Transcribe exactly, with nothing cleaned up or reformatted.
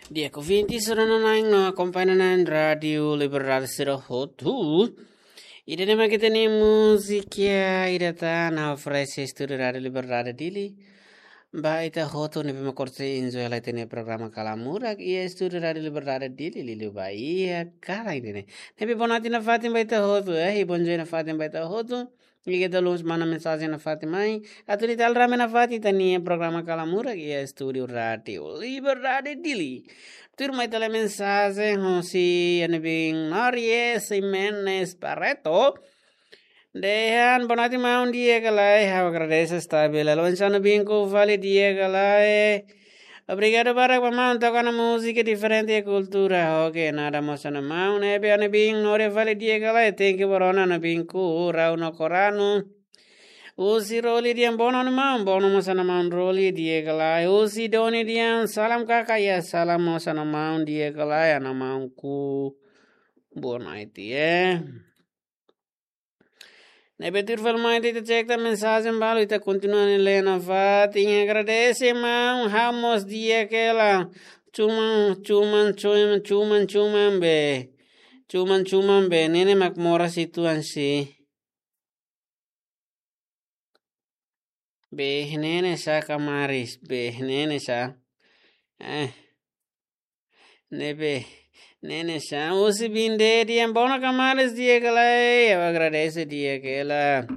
Di'ak ouvinte sira-na'in no akompaña na'in Rádiu Liberdade sira hotu. Ida-ne'e mak ita-nia múzika ida tan oferese Estúdiu Rádiu Liberdade Dili. Ba ita hotu ne'ebé mak korte enjoy lai ita-nia programa Kalamurak iha Estúdiu Rádiu Liberdade Dili, liuliu ba iha kalan ida-ne'e. Ne'ebé boa noite nafatin ba ita hotu, eh, i bonjoi nafatin ba ita hotu. I ita la'ós manda mensajen nafatin mai. Atu ita rame nafatin ita-nia programa Kalamurak iha Estúdiu Rádiu Liberdade Dili. Tuirmai ita lee mensajen hosi ita-nia bin Nories Jimenez Barreto. Dehan, boa noite maun, di'ak ka lae? Ha'u agradese, stabil. Lalu ita-nia bin ku fali, di'ak ka lae? Obrigadu barak ba maun toka ona múzika diferente iha kultura. Oke, nada mós ona maun. Ne'ebé ita-nia bin Nories fali, di'ak ka lae? Thank you ba rona, ita-nia bin ku Rau no Koranu. Husi Roli dehan, boa noite maun, boa noite mós ona maun Roli, di'ak ka lae? Husi Doni dehan, salam kaka, ya salam mós ona maun, di'ak ka lae, ita-nia maun ku. Boa noite, eh. Ne'ebé tuir fali mai ita cek tan mensajen balu, ita kontinua lee nafatin. Agradese maun, ha'u mós di'ak hela. Cuman, cuman, cuman, cuman, cuman be. Cuman, cuman be. Ne'e ne'e mak moras uitoan sih. Be, ne'e ne'e sá kamaris, be, ne'e ne'e sá. Eh. Ne'ebé, ne'e ne'e sá. Husi Binde dehan, boa noite kamaris, di'ak ka lae? Ha'u agradese, di'ak hela.